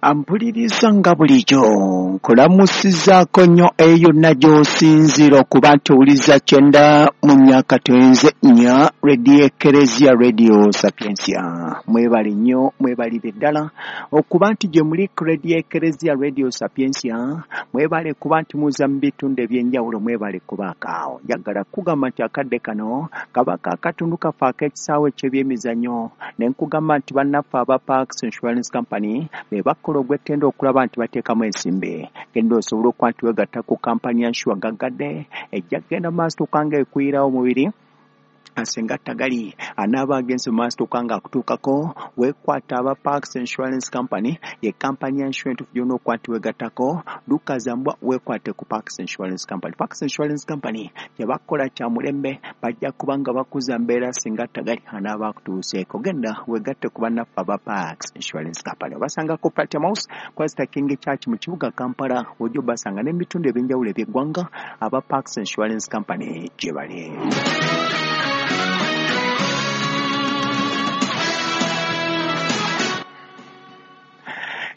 Ampuliriza nga bulijjo nkulamusizaako nnyo eyo yonna gy'osinziira okuba nti owuliza 94.4 Radio Ekereziya Radio Sapientia. Mwebale nnyo, mwebalire ddala okuba nti gye muli ku Radio Ekereziya Radio Sapientia, mwebale kuba nti muza mu bitundu eby'enjawulo, mwebale kubaako awo. Njagala kugamba nti akadde kano kabaka akatundu kaffe ak'ekisaawe eky'ebyemizannyo ne nkugamba nti bannaffe aba Parks Insurance Company be bakola ogw'ettendo okulaba nti bateekamu ensimbi. Genda osobola okuba nti weegatta ku kampani ya Nsure gaggadde ejja kugenda mu maaso okanga ekuyirawo omubiri singa tagali anaaba agenze mu maaso okanga akutuukako weekwata aba Parks Insurance Company ye kampani ya insurance gy'olina okuba nti weegattako dduka zambwa weekwate ku Parks Insurance Company. Parks Insurance Company kye bakola kya mulembe bajja kuba nga bakuza mbeera singa tagali anaaba akutuuseeko. Genda weegatte ku bannaffe aba Parks Insurance Company. Obasanga ku Platinum House Christ King Church mu kibuga Kampala ojja obasanga n'ebitundu eby'enjawulo eby'eggwanga aba Parks Insurance Company gye bali.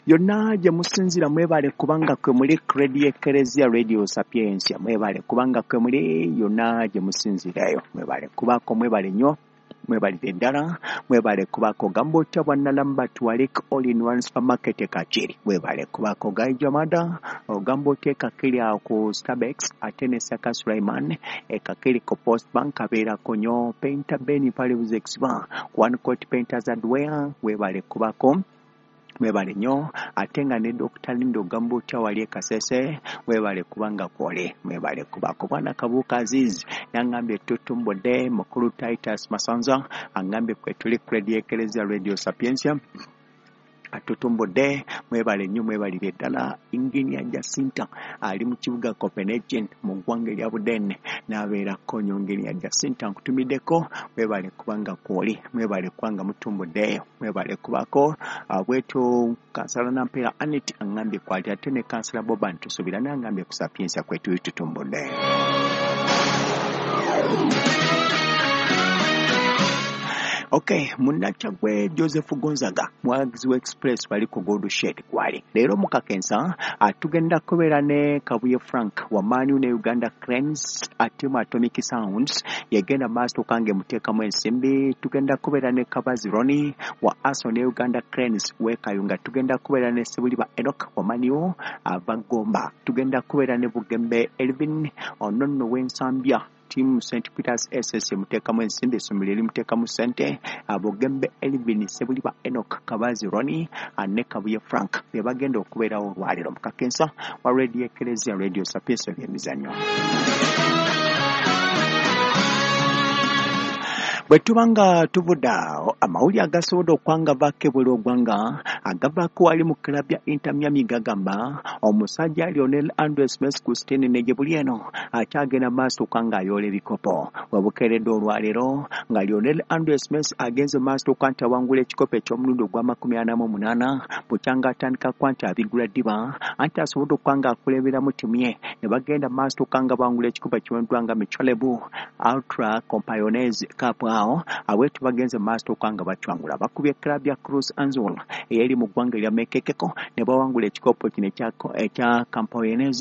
Yonna gye musinziira mwebale kubanga kwe muli Radio Ekereziya Radio Sapientia, mwebale kubanga kwe muli yonna gye musinziirayo, mwebale kubaako, mwebale nnyo, mwebalire ddala, mwebale kubaako. Gamba otya bwannalamba Tuwalik All in One Supermarket e Kakiri, mwebale kubaako. Gaijamada ogamba otya e Kakiri awo ku Starbucks ate ne Saka Sulaiman e Kakiri ku Post Bank abeerako nnyo. Painter Ben Palibuzi Exba One Coat Painters Hardware, webale kubaako, mwebale nnyo. Ate nga ne Dr. Lindo ogamba otya wali e Kasese, mwebale kubanga kwole, mwebale kubaako. Bwana Kabuuka Aziz nangambye tutumbudde. Mukulu Titus Masanza angambye kwe tuli ku Radio Ekereziya Radio Sapientia atutumbudde, mwebale nnyo, mwebalire ddala. Engineer Jacinta ali mu kibuga Copenhagen mu ggwanga erya Buden n'abeerako nnyo. Engineer Jacinta nkutumiddeko, mwebale kubanga kwoli, mwebale kubanga mutumbuddeeyo, mwebale kubaako. Bwetyo Kansala Nampeera Annet angambye kwali ate ne Kansala Boban Tusuubira nangambye ku Sapientia kwe tuli tutumbudde. Okay, munnakyaggwe Joseph Gonzaga mwagizi wa Express wali ku Gold Shed kwali. Leero mu Kakensa tugenda kubeera ne Kabuye Frank wa Man U ne Uganda Cranes ate mu Atomic Sounds yegenda maaso kange muteekamu ensimbi. Tugenda kubeera ne Kabazi Ronnie wa Arsenal ne Uganda Cranes w'e Kayunga. Tugenda kubeera ne Sebuliba Enoch wa Man U ava Gomba. Tugenda kubeera ne Bugembe Elvin ono nno w'Ensambya team St. Peters SS muteekamu ensimbi, essomero erimuteekamu ssente. Bugembe Elvin, Sebuliba Enoch, Kabazi Ronnie ne Kabuye Frank be bagenda okubeerawo olwaleero mu Kakensa wa Radio Ekereziya Radio Sapientia ebyemizannyo. Bwe tuba nga tuvudde awo, amawulire agasobodde okwangavaako ebweru ogwanga agavaako wali mu club ya Inter Miami gagamba omusajja Lionel Andres Messi Christine ne gye buli eno akyagenda maaso okwa ng'ayoola ebikopo. Webukeeredde olwaleero nga Lionel Andres Messi agenze maaso okwa nti awangula ekikopo eky'omulundi ogwa 48 bukyanga atandika kwa nti abigula ddiba anti asobodde okuba ng'akulemberamu ttiimu ye ne bagenda maaso okwa nga bawangula ekikopo ekiweddwa nga Michelob Ultra Campeones Cup. Awo awetu bagenze maaso okwa nga bacwangula bakubye club ya Cruz Azul eyeri mu ggwanga erya Mekekeko ne bawangula ekikopo kino ekya Campeones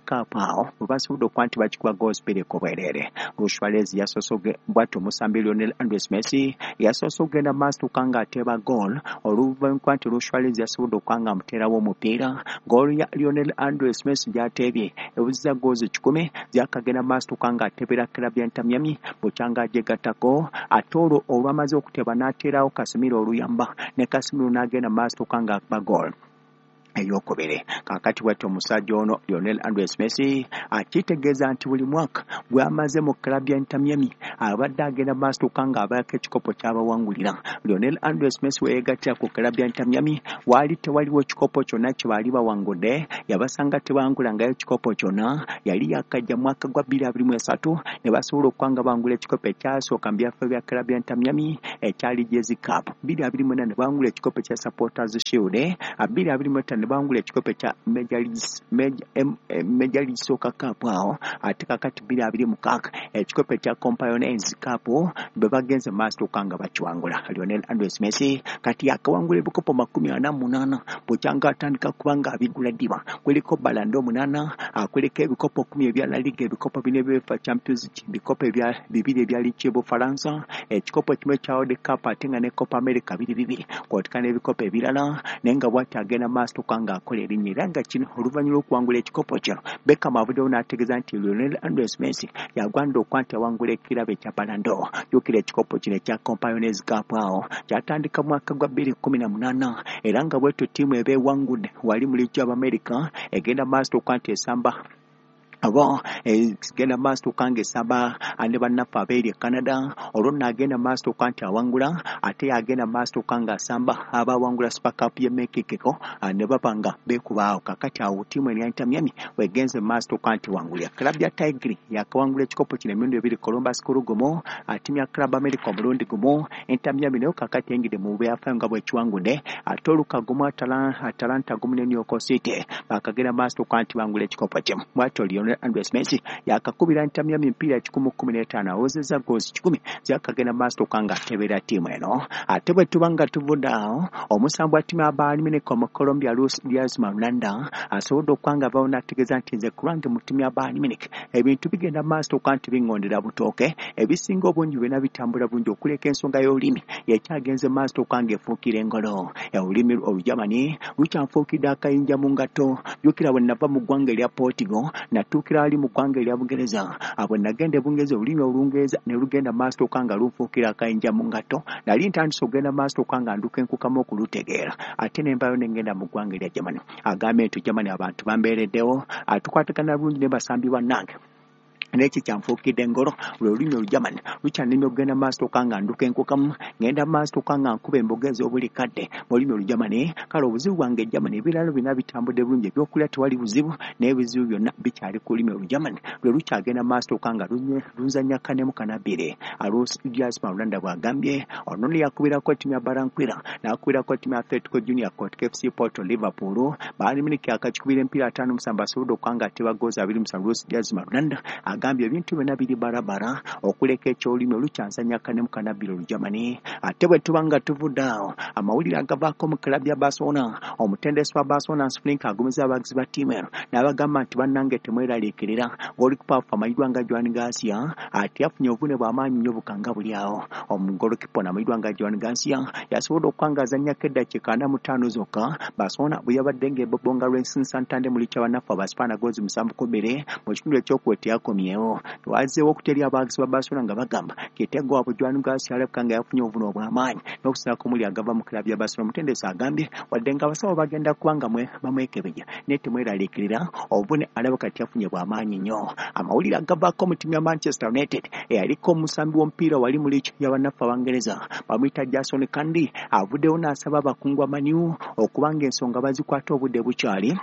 Cup. Awo bwe basobodde okuba nti bakikuba goals bbiri ku bwereere. Luis Suarez yasoose bw'atyo omusambi Lionel Andres Messi yasoose okugenda maaso okwa ng'ateeba goal oluvannyuma nti Luis Suarez yasobodde okuba nga amuteerawo omupiira. Goal ya Lionel Andres Messi gy'ateebye ewuzizza goals 100 zakagenda maaso okwa ng'ateebera club ya Inter Miami bukyanga agyegattako ate olwo olwamaze okuteeba n'ateerawo Casemiro oluyamba ne Casemiro n'agenda maaso okwa ng'akuba goal eyokubiri. Kaakati bw'atyo omusajja ono Lionel Andres Messi akitegeeza nti buli mwaka gw'amaze mu club ya Inter Miami abadde agenda maaso okwa ng'abaako ekikopo ky'abawangulira. Lionel Andres Messi we yeegattira ku club ya Inter Miami waali tewaliwo kikopo kyonna kye baali bawangudde, yabasanga tebangulangayo kikopo kyonna. Yali yakajja mwaka gwa 2023 ne basobola okuba nga bangula ekikopo ekyasooka mu byaffe bya club ya Inter Miami ekyali Jezi Cup. 2024 ne bangula ekikopo ekya Supporters Shield, 2025 ne bawangula ekikopo ekya Major League Soccer Cup awo, ate kakati 2026 ekikopo ekya Companions Cup bwe bagenze maaso okanga bakiwangula. Lionel Andres Messi kati akawangula ebikopo 48 bukyanga atandika kubanga abigula ddiba. Kuliko Ballon d'Or 8, kuliko ebikopo 10 ebya La Liga, ebikopo 4 ebya UEFA Champions League, ebikopo ebya 2 ebya Ligue y'Obufalansa, ekikopo kimu ekya World Cup ate nga ne Copa America 2 kw'oteeka n'ebikopo ebirala, naye nga bw'ati agenda maaso okanga akola erinnya. Era nga kino oluvannyuma lw'okuwangula ekikopo kino, Beckham avuddewo n'ategeeza nti Lionel Andres Messi yagwanidde okuba nti awangula ekirabo ekya Ballon d'Or. Jjukira ekikopo kino ekya Companions Cup awo kyatandika mu mwaka gwa 2018, era nga bwetyo ttiimu eba ewangudde wali mu liigi y'Abamerika egenda maaso okuba nti esamba abo egenda maaso okanga esamba ne bannaffe abeeri e Canada. Olwo nno agenda maaso okuba nti awangula, ate agenda maaso okanga asamba abawangula Super Cup y'e Mexico ne baba nga beekuba awo. Kakati awo ttiimu eno ya Inter Miami wegenze maaso okuba nti wangulira. Club ya Tigre yakawangula ekikopo kino emirundi ebiri, Columbus Crew gumu, ttiimu ya Club America omulundi gumu. Inter Miami nayo kakati eyingidde mu byafaayo nga bwekiwangudde, ate oluka gumu, Atalanta gumu ne New York City bakagenda maaso okuba nti bangula ekikopo kimu. Bw'atyo Lionel Andres Messi yakakubira Inter Miami emipiira 115, awozezza goals 100 zakagenda maaso okanga atebeera ttiimu eno. Ate bwe tuba nga tuvudde awo, omusambi wa ttiimu ya Bayern Munich omu Colombia Luis Diaz Marulanda asobodde okuba nga avaawo n'ategeeza nti nze ku lwange mu ttiimu ya Bayern Munich ebintu bigenda maaso okuba nti biŋŋondera butooke, ebisinga obungi byonna bitambula bulungi okuleka ensonga y'olulimi yekyagenze maaso okuba nga efuukira engolo. Olulimi Olujamani lukyanfuukidde akayinja mu ngatto. Jjukira bwe nava mu ggwanga erya Portugal natuukira ali mu ggwanga erya Bungereza. Bwe nagenda e Bungereza olulimi Olungereza ne lugenda maaso okuba nga lunfuukira akayinja mu ngatto. Nali ntandise okugenda maaso okuba nga nduka enkukamu okulutegeera, ate ne nvaayo ne ngenda mu ggwanga erya Germany. Agambye nti Germany abantu bambeereddewo, tukwatagana bulungi ne basambi bannange, naye kikyanfuukidde engolo lwe lulimi Olujamani lukyannemye okugenda maaso okuba nga nduka enkukamu, ngenda maaso okuba nga nkuba emboga ez'obuli kadde mu lulimi Olujamani. Kale obuzibu bwange Germany, ebirala byonna bitambudde bulungi, ebyokulya tewali buzibu, naye ebizibu byonna bikyali ku lulimi Olujamani lwe lukyagenda maaso okuba nga lunzannya kanemu kanabbire. Luis Diaz Marulanda bw'agambye. Ono nno yakubirako ttiimu ya Barranquilla, n'akubirako ttiimu ya Atletico Junior, Kotka FC Porto, Liverpool. Bayern Munich akakikubira emipiira 57, asobodde okuba nga ateba goals 27. Luis Diaz Marulanda agambye ebintu byonna biri barabara okuleka ekyolulimi olukyansanya kanemu kanabbira Olujamani. Ate bwe tuba nga tuvudde awo, amawulire agavaako mu club ya Barcelona, omutendesi wa Barcelona Hansi Flick agumiza abawagizi ba ttiimu eno n'abagamba nti bannange temweraliikirira, goalkeeper waffe amanyiddwa nga Joan Garcia ate yafunye obuvune bw'amaanyi nnyo bukanga buli awo. Omugolokipa ono amanyiddwa nga Joan Garcia yasobodde okuba nga azannyako eddakiika 45 zokka Barcelona bwe yabadde ng'ebobonga Racing Santander mu liigi bannaffe Abaspaana goals 7-2 mu kitundu ekyokubiri teyakomyewo. Wazzeewo okutya abawagizi ba Barcelona nga bagamba kitego waabwe Joan Garcia alabika nga yafunye obuvune obw'amaanyi n'okusinga ku muli agava mu club ya Barcelona. Omutendesi agambye wadde nga abasawo bagenda kuba nga bamwekebejja, naye temweraliikirira, obuvune alabika teyafunye bw'amaanyi nnyo. Amawulire agavaako mu ttiimu ya Manchester United, eyaliko omusambi w'omupiira wali mu liigi y'abannaffe Abangereza bamuyita Jason Cundy avuddewo n'asaba abakungu ba Man U okuba nga ensonga bazikwata obudde bukyali,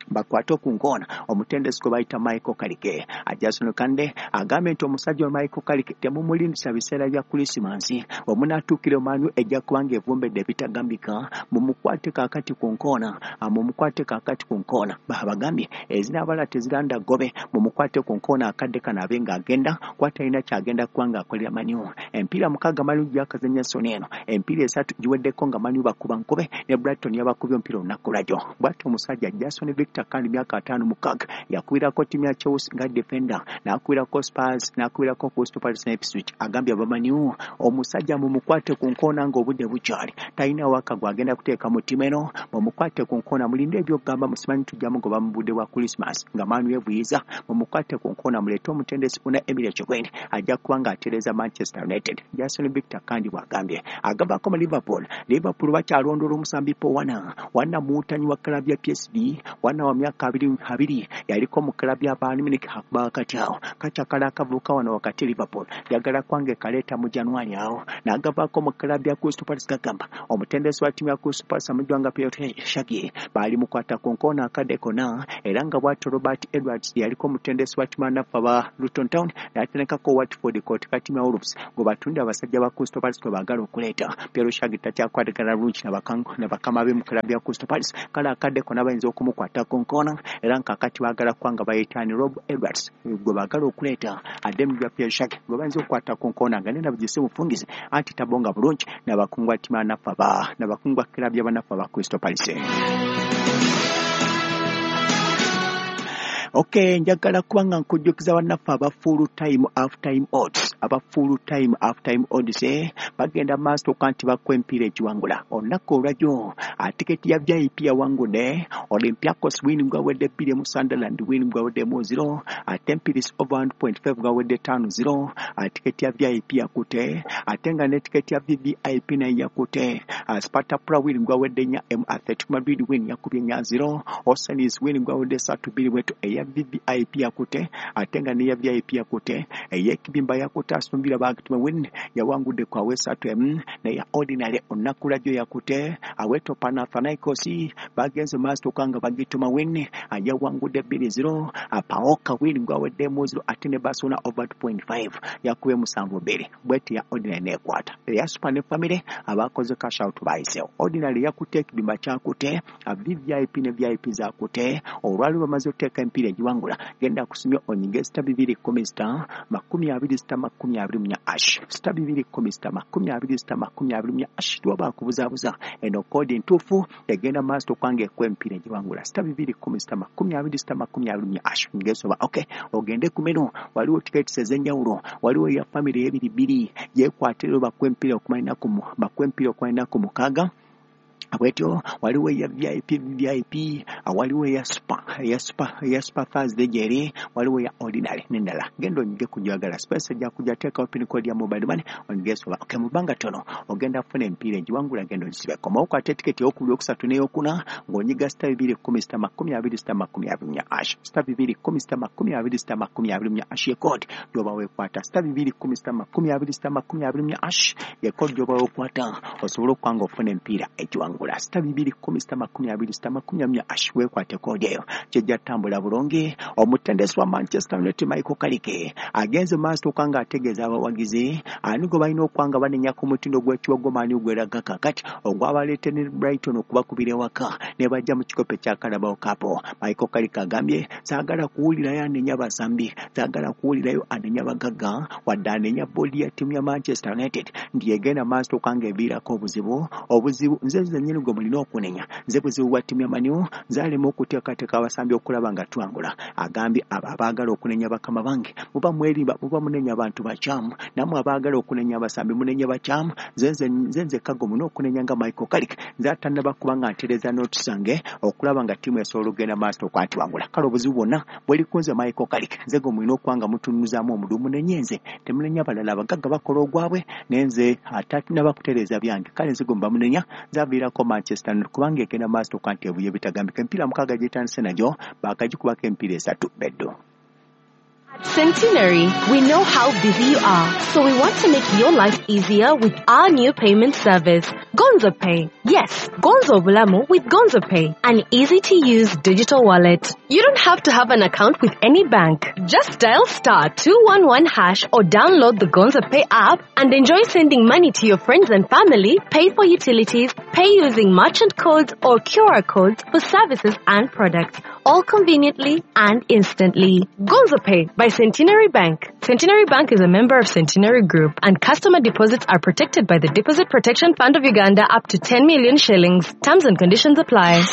bakwate okunkoona omutendesi gwe bayita Michael Carrick. Jason Cundy agambye nti omusajja wa Michael Carrick temumulindisa biseera bya Krisimansi, bwe munaatuukira Man U ejja kuba ng'evumbedde ebitagambika, mumukwate kaakati ku nkoona, mumukwate kaakati ku nkoona. Bagambye ezinaabala teziranda ggobe, mumukwate ku nkoona akadde kano abe ng'agenda kuba talina kyagenda kuba ng'akolera Man U. Emipiira 6 Man U gyakazannya soni eno, emipiira 3 giweddeko nga Man U bakuba nkube, ne Brighton yabakubye omupiira olunaku lwajjo. Bw'atyo omusajja Jason Victor Cundy myaka 56 yakubirako ttiimu ya Chelsea nga defender, n'akubirako Spurs, n'akubirako Crystal Palace ne Ipswich. Agambye aba Man U omusajja mumukwate ku nkoona ng'obudde bukyali, talina waka gw'agenda kuteeka mu ttiimu eno, mumukwate ku nkoona, mulinde ebyokugamba musimanyi tujja mugoba mu budde bwa Christmas nga Man U evuyiza, mumukwate ku nkoona, muleete omutendesi Unai Emery Echegoyen ajja kuba ng'atereeza Manchester United. Jason Victor Cundy bw'agambye. Agavaako mu Liverpool, Liverpool bakyalondoola omusambi Paul Werner, Werner muwutanyi wa club ya PSV, Werner Omwana wa myaka 22 yaliko mu club ya Bayern Munich wakati awo kakyakala akavubuka wano wakati Liverpool yagala kwange kaleeta mu January awo n'agavaako mu club ya Crystal Palace. Gagamba omutendesi wa ttiimu ya Crystal Palace amujwanga Piotr Shagi baali mukwata ku nkoona akadde konna, era nga bw'atyo Robert Edwards yaliko omutendesi wa ttiimu ya ba Luton Town n'atendekako Watford kotika ttiimu ya Wolves gwe batunda abasajja ba Crystal Palace kwe baagala okuleeta. Piotr Shagi takyakwatagana bulungi na bakama be mu club ya Crystal Palace, kale akadde konna bayinza okumukwata ku nkoona, era nkakati baagala kwanga bayitaani Rob Edwards gwe baagala okuleeta adde mu bya Piotr Shagi gwe bayinza okukwata ku nkoona nga nena bugise bufungize anti tabonga bulungi n'abakungwa ttiimu n'abakungwa club y'abanafu aba Crystal Palace. Okay, njagala kubanga nkujjukiza bannaffe aba full time half time odds, aba full time half time odds bagenda maaso okuba nti bakuwa emipiira egiwangula olunaku olwajjo. Tiketi ya VIP yawangudde Olympiacos win gwawedde 2 Sunderland win gwawedde 0, Tempiris over 1.5 gwawedde 5-0. Tiketi ya VIP yakute, ate nga ne tiketi ya VVIP nayo yakute. Sparta Prague win gwawedde 4, Athletic Madrid win yakubye 4-0, Oceanis win gwawedde 3-2 bwetu eya VVIP yakute, ate nga neya VIP yakute. Ey'ekibimba yakute asumbira bagituma win yawangudde kwa wesatu m neya ordinary olunaku lwajjo yakute. Aweto Panathinaikos bagenze maaso okanga bagituma win yawangudde 2-0, Paoka win gwawedde 0, ate ne Barcelona over 2.5 yakubye 7-2 bweti ya ordinary nekwata. Eya super ne family abakoze cash out bayiseewo. Ordinary yakute, ekibimba kyakute, VVIP ne VIP zakute. Olwali bamaze okuteeka emipiira egiwangula, genda kusumya onyige *210 *20 *24 hash *210 *20 *24 hash. Tuwaba kubuzaabuza eno koodi ntuufu egenda maaso okwange ekuwa emipiira egiwangula *210 *20 *24 hash. Ngesoba okay, ogende ku menu, waliwo tiketi ez'enjawulo, waliwo eya family ebiri bbiri yekwatira bakuwa emipiira okumalina ku mukaaga bwetyo, waliwo eya VIP VIP, waliwo eya super eya super Thursday gyeri, waliwo eya ordinary n'endala. Genda onyige kujagala space ejja kujja teekawo pin code ya mobile money onyige soba okay, mu bbanga ttono ogenda kufuna emipiira egiwangula, genda ogisibeko. Komawo kwata etiketi eyokubiri, okusatu n'eyokuna ng'onyiga *210 *20 *24 hash *210 *20 *24 hash ye code gy'oba weekwata *210 *20 *24 hash ye code gy'oba weekwata osobola okuba nga ofuna emipiira egiwangula *210 *20 *24 hash. Weekwate koodi eyo kijja ttambula bulungi. Omutendesi wa Manchester United Michael Carrick agenze maaso okuba nga ategeeza abawagizi ani gwe balina okuba nga banenya ku mutindo gw'ekiwago maani gweraga kakati ogwabaleete ne Brighton okubakubira ewaka ne bajja mu kikopo ekya Carabao Cup. Michael Carrick agambye saagala kuwulirayo anenya basambi, saagala kuwulirayo anenya bagagga, wadde anenya boodi ya ttiimu ya Manchester United nti egenda maaso okuba nga eviirako obuzibu nze nzennyini gwe mulina okunenya, nze buzibu bwa ttiimu ya Man U, nze alema okuteekateeka abasambi okulaba nga twangula. Agambye abo abaagala okunenya bakama bange muba mwerimba, muba munenya abantu bakyamu, nammwe abaagala okunenya abasambi munenya bakyamu, nze nzekka gwe mulina okunenya nga Michael Carrick, nze atannaba kuba nga ntereeza nooti zange okulaba nga ttiimu esobola okugenda maaso okuba nti wangula. Kale obuzibu bwonna bweri ku nze Michael Carrick, nze gwe mulina okuba nga mutunuzaamu omudu, munenye nze, temunenya balala, abagagga bakola ogwabwe naye nze atatannaba kutereeza byange, kale nze gwe muba munenya, nze aviirako Manchester United kubanga egenda maaso okuba nti ebuye bitagambika. Emipiira 6 gyetandise nagyo baakagikubako emipiira 3 beddo. At Centenary, we know how busy you are, so we want to make your life easier with our new payment service, Gonzo Pay. Yes, Gonzo Bulamu with Gonzo Pay, an easy-to-use digital wallet. You don't have to have an account with any bank. Just dial *211# or download the Gonzo Pay app and enjoy sending money to your friends and family, pay for utilities, pay using merchant codes or QR codes for services and products, all conveniently and instantly. Gonzo Pay by Centenary Bank. Centenary Bank is a member of Centenary Group, and customer deposits are protected by the Deposit Protection Fund of Uganda up to 10 million shillings. Terms and conditions apply.